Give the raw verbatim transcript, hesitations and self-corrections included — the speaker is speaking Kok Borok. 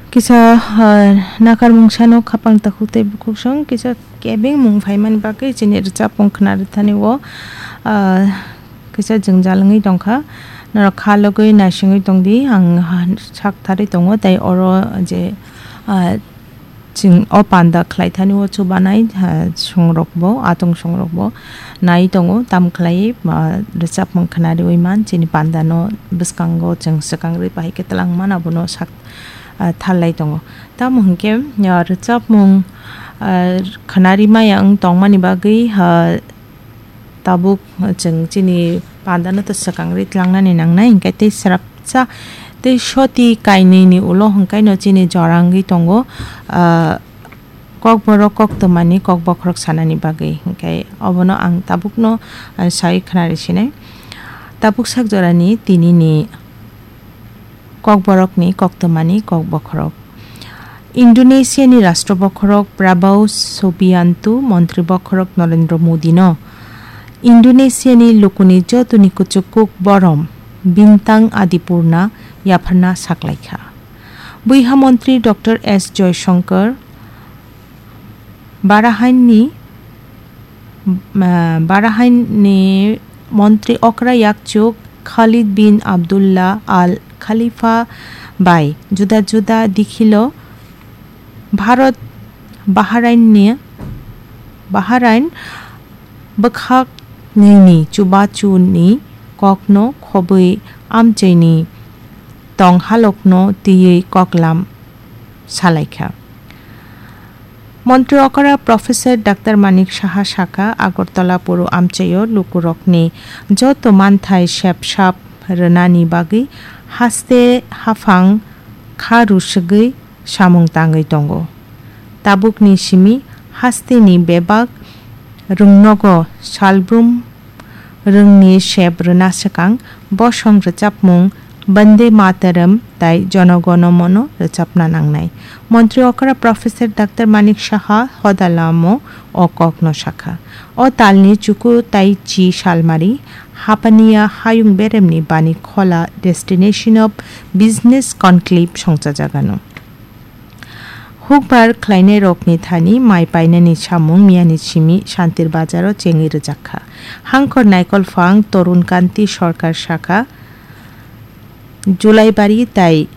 Kisa, ah, nakarmung sano khapang takhuk tei bukhuksong kisa kebengmung phaimani bagwi chini rwchapmung khna rwthani o, ah, kisa jwngjal wngwi tongkha. Norok kha logwi naisingwi tongdi, ang, ah, sak tharwi tongo tei oro je, ah, chwng o panda khlai thani o chubanai, ah, songrok bo, atong songrok bo nai tongo, tam khlai, ah, rwchapmung khna riwi man chini panda no bwskango chwng swkang rwi bahai khe twlang man abono sak ah, tharlai tongo. Tamo hwnkhe, ah, rwchapmung, ah, khwnari maya wng tongmani bagwi, ah, tabuk chwng chini pandano to swkang ri tlangnani nangnai, hwnkhe tei swrapsa tei soti kainwini ulo hwnkhaino chini jora wngwi tongo, ah, kokborok koktwmani kokbokhorok sanani bagwi, hwnkhe obono ang tabukno, ah, sai khwnari sinai. Tabuk sak jorani tinini Kokborokni koktwmani kokbokhorok. Indonesiani Rashtra Bokhorok Prabowo Subianto, Montri Bokhorok Narendra Modino Indonesiani lukuni jotoni kuchukuk borom Bintang Adipurna yapharna saklaikha. Bwiha Montri Doctor S Joyshankar Bahrainni, ah, Bahrainni Montri okra yakchuk Khalid bin Abdullah Al Khalifa bai juda juda dikhilo Bharat Bahrainni, Bahrain bwkhak nini chubachuni kokno khobwi amchaini tong halokno twiwi koklam salaikha. Montri okra Professor Doctor Manik Saha sakha, Agartala Puru amchaio lukurokni joto manthai sep sap rwnani bagwi haste haphang kha rusugwi samung tangwi tongo. Tabukni simi hasteni bebak rwngnogo salbrum rwngni sep rwna swkang bosong rwchapmung Bande Mataram tai Jono Gono Mono rwchapna nangnai. Montri okra Professor Doctor Manik Saha hodalamo o kokno sakha. O talni chuku tai chi salmari Hapania hayung beremni bani khola Destination of Business Conclave songchajagano. Hukbar khlainairokni thani mai painani samung miyani simi Shantir Bazaro chengwi rwjakha. Hangkhor Naikolphang Torun Kanti Sarkar sakha, Julaibari tai